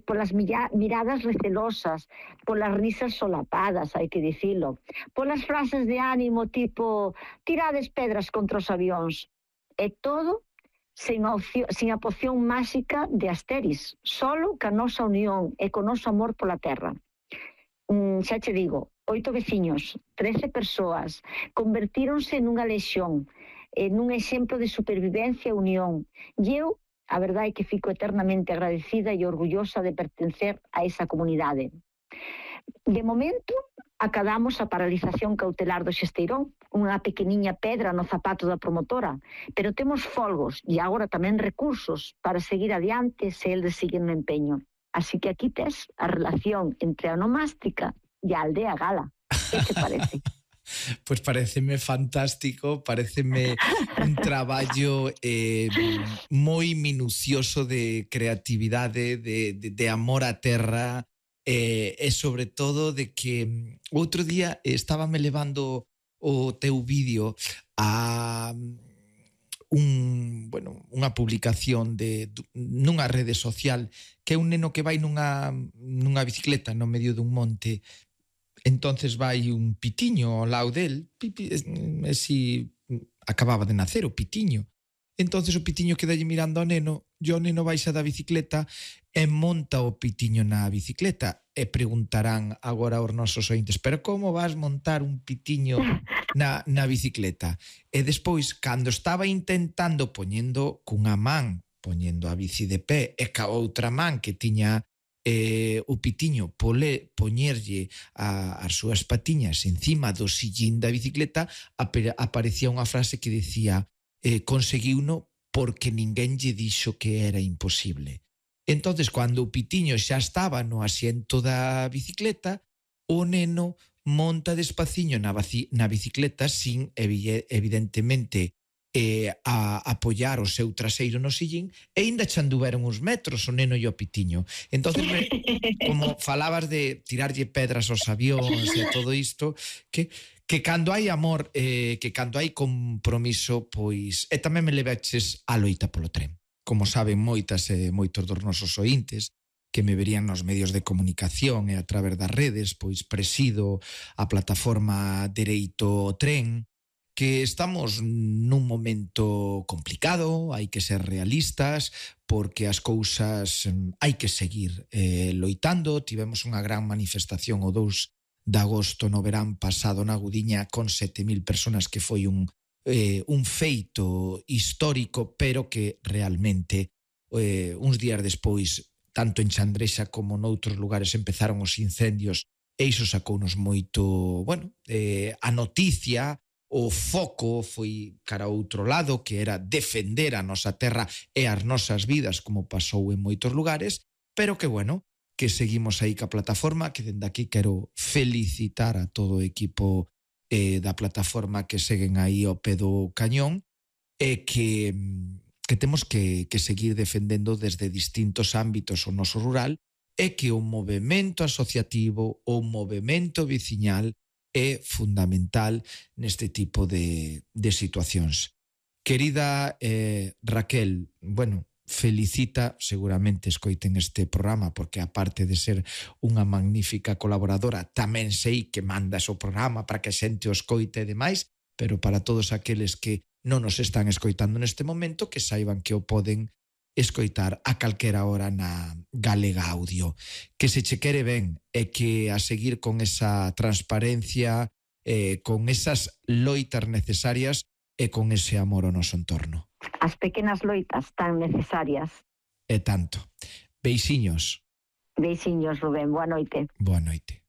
polas miradas recelosas, polas risas solapadas, hai que dicilo, polas frases de ánimo tipo tirades pedras contra os avións. E todo sen a poción máxica de Asteris, solo ca nosa unión e co noso amor pola terra. Xa che digo, 8 veciños, 13 persoas, convertíronse nunha lexión, nun exemplo de supervivencia e unión. E eu, a verdade é que fico eternamente agradecida e orgullosa de pertencer a esa comunidade. De momento, acadamos a paralización cautelar do Xesteirón, unha pequeniña pedra no zapato da promotora, pero temos folgos e agora tamén recursos para seguir adiante se eles siguen no empeño. Así que aquí tes a relación entre a onomástica e a aldea gala. Que te parece? Pois pareceme fantástico, pareceme un traballo moi minucioso de creatividade, de amor á terra, e sobre todo de que outro día estábame levando o teu vídeo a unha publicación nunha rede social que é un neno que vai nunha bicicleta no medio dun monte. Entonces vai un pitiño ao lado del, e si acababa de nacer o pitiño. Entonces o pitiño quedalle mirando ao neno, e o neno baixa da bicicleta e monta o pitiño na bicicleta. E preguntarán agora aos nosos ointes, pero como vas montar un pitiño na bicicleta? E despois, cando estaba intentando poñendo a bici de pé e ca outra man que tiña o pitiño poñerlle as súas patiñas encima do sillín da bicicleta, aparecía unha frase que decía conseguiuno porque ninguén lle dixo que era imposible. Entonces, cando o pitiño xa estaba no asiento da bicicleta, o neno monta despaciño na bicicleta sin, evidentemente, a apoiar o seu traseiro no sillín, e ainda xa anduveron uns metros o neno e o pitiño. Entonces, como falabas de tirarlle pedras aos avións e todo isto, que cando hai amor, que cando hai compromiso, pois, e tamén me levaches a loita polo tren. Como saben moitas e moitos dos nosos ointes, que me verían nos medios de comunicación e a través das redes, pois presido a plataforma Dereito ao Tren, que estamos nun momento complicado, hai que ser realistas, porque as cousas hai que seguir loitando. Tivemos unha gran manifestación o 2 de agosto no verán pasado na Gudiña con 7.000 personas, que foi un feito histórico, pero que realmente uns días despois, tanto en Chandrexa como noutros lugares, empezaron os incendios, e iso sacounos moito, a noticia, o foco foi cara a outro lado, que era defender a nosa terra e as nosas vidas, como pasou en moitos lugares, pero que que seguimos aí ca plataforma, que dende aquí quero felicitar a todo o equipo da plataforma que seguen aí ao pé do cañón, e que temos que seguir defendendo desde distintos ámbitos o noso rural, e que o movemento asociativo, o movemento veciñal é fundamental neste tipo de situacións. Querida Raquel, felicita, seguramente escoiten este programa, porque aparte de ser unha magnífica colaboradora, tamén sei que mandas o programa para que a xente o escoite e demais, pero para todos aqueles que non nos están escoitando neste momento, que saiban que o poden escoitar a calquera hora na Galega Audio. Que se che quere ben, e que a seguir con esa transparencia, con esas loitas necesarias e con ese amor ao noso entorno. As pequenas loitas tan necesarias. E tanto. Beixiños. Beixiños, Rubén. Boa noite. Boa noite.